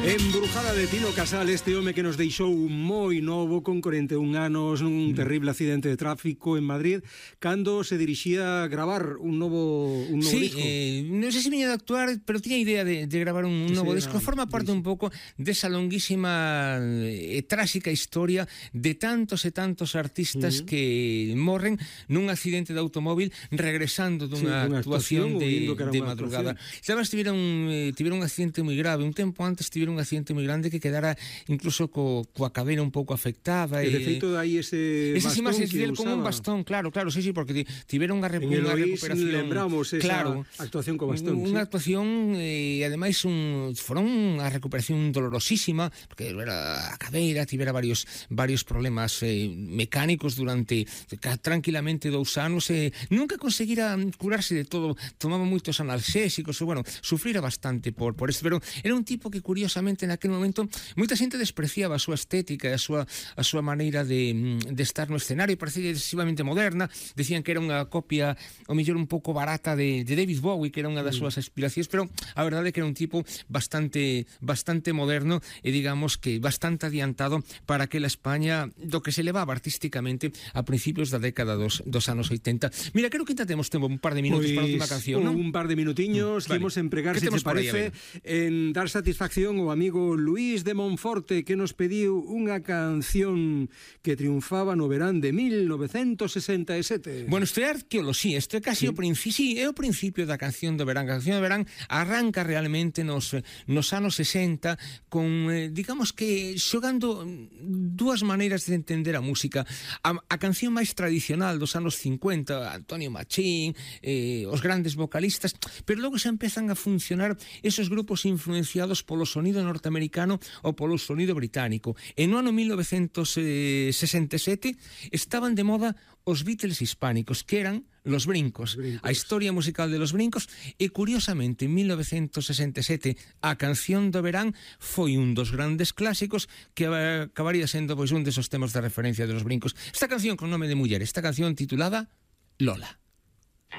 Embrujada de Tino Casal, este home que nos deixou moi novo con 41 anos nun terrible accidente de tráfico en Madrid cando se dirixía a gravar un novo disco. Non sei se viña de actuar, pero tiña idea de gravar un novo disco. Forma parte un pouco desa longuísima e tráxica historia de tantos e tantos artistas que morren nun accidente de automóvil regresando dunha actuación de madrugada. Sabes, tiveron un accidente moi grave. Un tempo antes tiveron un accidente moi grande que quedara incluso coa cadera un pouco afectada. E de feito aí ese bastón que usaba. Como un bastón, claro, sí, porque tiveron unha recuperación. Lembramos esa actuación co bastón. Unha actuación e ademais foron unha recuperación dolorosísima, porque a cadeira tivera varios problemas mecánicos durante tranquilamente 2 anos e nunca conseguira curarse de todo. Tomaba moitos analgésicos e, bueno, sufrira bastante por isto, pero era un tipo que curiosamente naquele momento moita xente despreciaba a súa estética e a súa maneira de estar no escenario. Parecía excesivamente moderna, decían que era unha copia ao mellor un pouco barata de David Bowie, que era unha das súas aspiracións, pero a verdade é que era un tipo bastante moderno e digamos que bastante adiantado para aquela España do que se levaba artísticamente a principios da década dos anos 80. Mira, creo que ainda temos tempo un par de minutos para a última canción, non? Un par de minutiños, vale. Imos empregar, se te parece, en dar satisfacción ao amigo Luís de Monforte, que nos pediu unha canción que triunfaba no verán de 1967. Bueno, isto é arqueoloxía, isto é casi o principio da canción do verán. A canción do verán arranca realmente nos anos 60 con, digamos que, xogando dúas maneiras de entender a música. A canción máis tradicional dos anos 50, Antonio Machín, os grandes vocalistas, pero logo xa empezan a funcionar esos grupos influenciados polo sonido norteamericano ou polo sonido británico. E no ano 1967 estaban de moda os Beatles hispánicos, que eran Los Brincos, a historia musical de Los Brincos, e curiosamente en 1967 a canción do verán foi un dos grandes clásicos que acabaría sendo pois un desos temas de referencia de Los Brincos. Esta canción con nome de muller, esta canción titulada Lola.